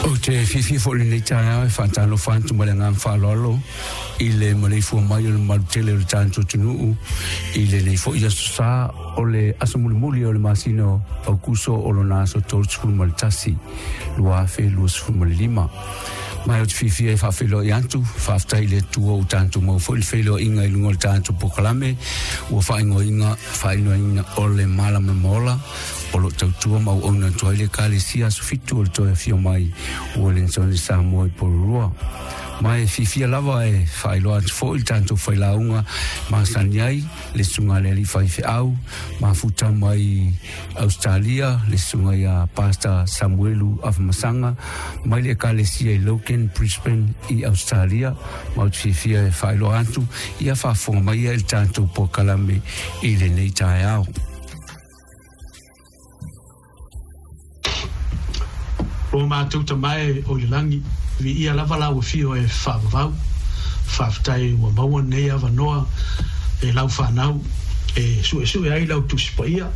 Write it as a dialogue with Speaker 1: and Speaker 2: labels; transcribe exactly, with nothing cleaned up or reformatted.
Speaker 1: Ou te fiafia foi i lenei taeao e faatalofa atu ma le agaga faaaloalo i le maleifua mai o le mamalu tele o le tatou atunuu i lenei foi aso Sa, o le aso mulimuli o le masina o Aokuso, o lona aso tolusekulu ma le tasi lua afe luasefulu ma le lima. Ma ou te fiafia e faafeiloai atu, faafetai i le Atua ua tatou maua foi le feiloaiga i luga o le tatou polokalame ua faaigoaina faaigoaina o le Malamalama Ola, o lo o tautua ma auauna atu ai le Ekalesia Aso Fitu o le Toe Afio Mai o Ueligitone Samoa i Porirua. Ma e fiafia lava e faailoa atu foi le tatou failauga masani ai, le susuga i le alii faifeau mafuta mai Ausetalia, le susuga ia Pastor Samuelu Afamasaga mai le Ekalesia i Logan, Brisbane i Ausetalia. Ma ou te fiafia e faailoa atu ia faafofoga mai ia i le tatou polokalame i lenei taeao.
Speaker 2: O matou Tama e o i le lagi, viia lava lau afio e faavavau. Faafetai ua maua lenei avanoa e lau fanau e suesue ai lau Tusi Paia.